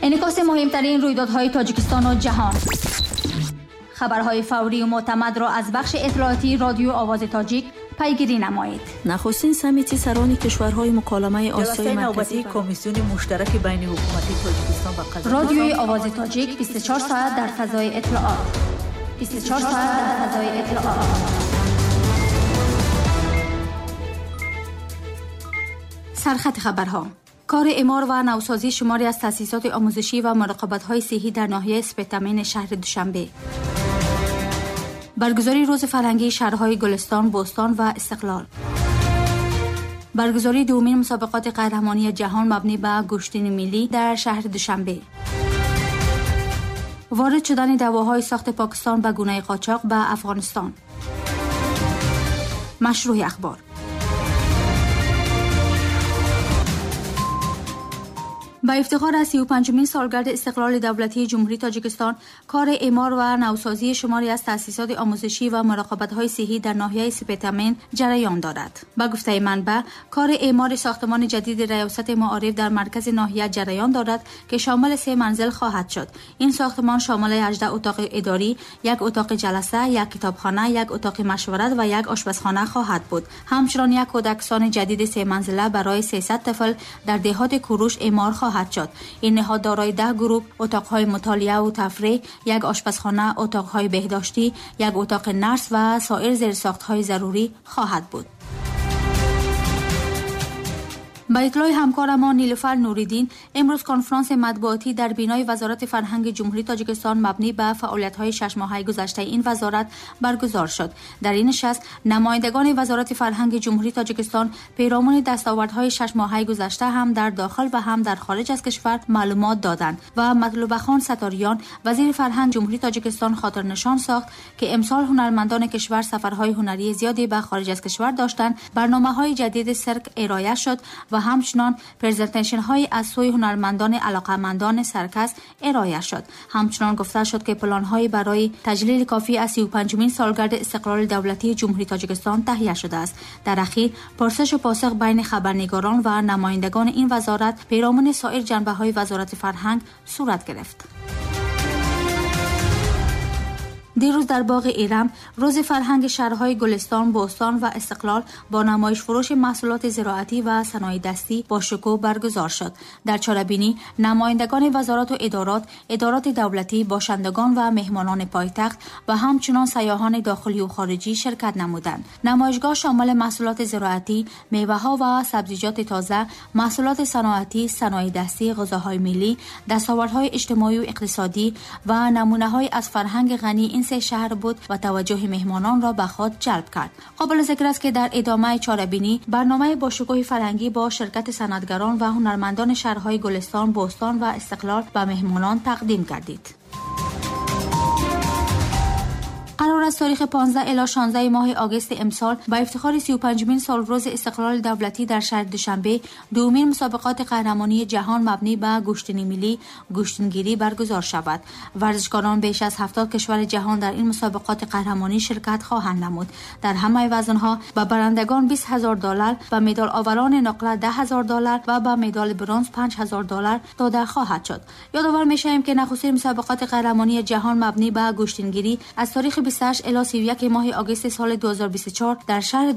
Инъикоси муҳимтарин рӯйдодҳои Тоҷикистону ҷаҳон. Хабарҳои фаврию мӯътамадро аз бахши иттилоотии Радиои Овози Тоҷик пайгирӣ намоед. Нахустин саммити сарони кишварҳои муколамаи Осиёи Ҷаласаи Марказӣ навбатии Комиссиони муштараки байни ҳукумати Тоҷикистон ва Қазоқистон. Радиои Овози Тоҷик 24 соат дар фазои иттилоот. 24 соат дар фазои иттилоот. Сархати хабарҳо. Кори имор ва навсозии шумори аз таъсисоти омӯзишӣ ва муроқибатҳои сиҳҳӣ дар ноҳияи Спитамени шаҳри Душанбе. Баргузории рӯзи фарҳангии шаҳрҳои Гулистон, Бӯстон ва Истиқлол. Баргузории дуввумин мусобиқоти қаҳрамонии ҷаҳон мабнӣ ба гӯштини миллӣ дар шаҳри Душанбе. Ворид шудани давоҳои сохти Покистон ба гунаи қочоқ ба Афғонистон. Машрӯҳи ахбор. Ба ифтихор аз 35-умин солгарди истиқлоли давлатии Ҷумҳурии Тоҷикистон, кори имор ва навсозии шумори аз таъсисоти омӯзишӣ ва муроқибатҳои сиҳҳӣ дар ноҳияи Спитамен ҷараён дорад. Ба гуфтаи манбаъ, кори имори сохтмони ҷадиди Раёсати маориф дар маркази ноҳия ҷараён дорад, ки шомили 3 манзил хоҳад шуд. Ин сохтмон шомили 18 утоқи идорӣ, як утоқи ҷаласа, як китобхона, як утоқи машварат ва як ошпазхона хоҳад буд. Ҳамчунон як кӯдакистони ҷадиди 3 манзила барои 300 тифл дар деҳоти Куруш имор хоҳад шуд. Ин ниҳод дорои 10 гурӯҳ, утоқҳои мутолиа ва тафреҳ, як ошпазхона, утоқҳои беҳдоштӣ, як утоқи нарс ва соир зерсохтҳои зарурӣ хоҳад буд. Ба иттилои ҳамкорамон Нилуфар Нуриддин, имрӯз конфронси матбуотӣ дар бинои Вазорати фарҳанги Ҷумҳурии Тоҷикистон мабнӣ ба фаъолиятҳои шашмоҳаи гузаштаи ин вазорат баргузор шуд. Дар ин нишаст намояндагони Вазорати фарҳанги Ҷумҳурии Тоҷикистон پیرامون дастовардҳои шашмоҳаи гузашта ҳам дар дохил ва ҳам дар хориҷ аз кишвар маълумот доданд ва Матлубахон Саториён, вазири фарҳанг Ҷумҳурии Тоҷикистон, хотирнишон сохт, ки имсол ҳунармандони кишвар сафарҳои ҳунарии зиёде ба хориҷ аз кишвар доштанд, барномаҳои ҷадиди сирк ироя шуд ва ҳамчунон презентейшнҳои аз сӯи ҳунармандони алоқамандони саркас ироя шуд. Ҳамчунон гуфта шуд, ки планҳои барои таҷлили кофӣ аз 35-умин солгарди истиқлоли давлатии Ҷумҳурии Тоҷикистон таҳия шудааст. Дар ахир пурсишу посух байни хабарнигорон ва намояндагони ин вазорат پیرامون سایر جنبه‌های وزارت فرهنگ صورت گرفت. دیروز در باغ ایرم روز فرهنگ شهرهای گلستان، بوستان و استقلال با نمایش فروش محصولات زراعتی و صنایع دستی با شکوه برگزار شد. در چاربینی نمایندگان وزارت و ادارات، ادارات دولتی، باشندگان و مهمانان پایتخت و همچنان سیاحان داخلی و خارجی شرکت نمودند. نمایشگاه شامل محصولات زراعتی، میوه‌ها و سبزیجات تازه، محصولات صنعتی، صنایع دستی، غذاهای ملی، دستاوردهای اجتماعی و اقتصادی و نمونه‌های از فرهنگ غنی این سه شهر بود و توجه مهمانان را به خود جلب کرد. قابل ذکر است که در ادامه چاربینی برنامه با شکوه فرهنگی با شرکت صنعتگران و هنرمندان شهرهای گلستان، بوستان و استقلال به مهمانان تقدیم گردید. قرار است تاریخ 15 الی 16 ماه آگوست امسال با افتخار 35مین سالروز استقلال دولتی در شهر دوشنبه دومین مسابقات قهرمانی جهان مبنی به گوشتین ملی گوشتینگیری برگزار شود. ورزشکاران بیش از 70 کشور جهان در این مسابقات قهرمانی شرکت خواهند نمود. در همه وزنها به برندگان $20,000، به مدال آوران نقره $10,000 و به مدال برنز $5,000 داده خواهد شد. یادآور می‌شویم که نخستین مسابقات قهرمانی جهان مبنی به گوشتینگیری از تاریخ 28 الی 31 ماه آگوست سال 2024 در شهر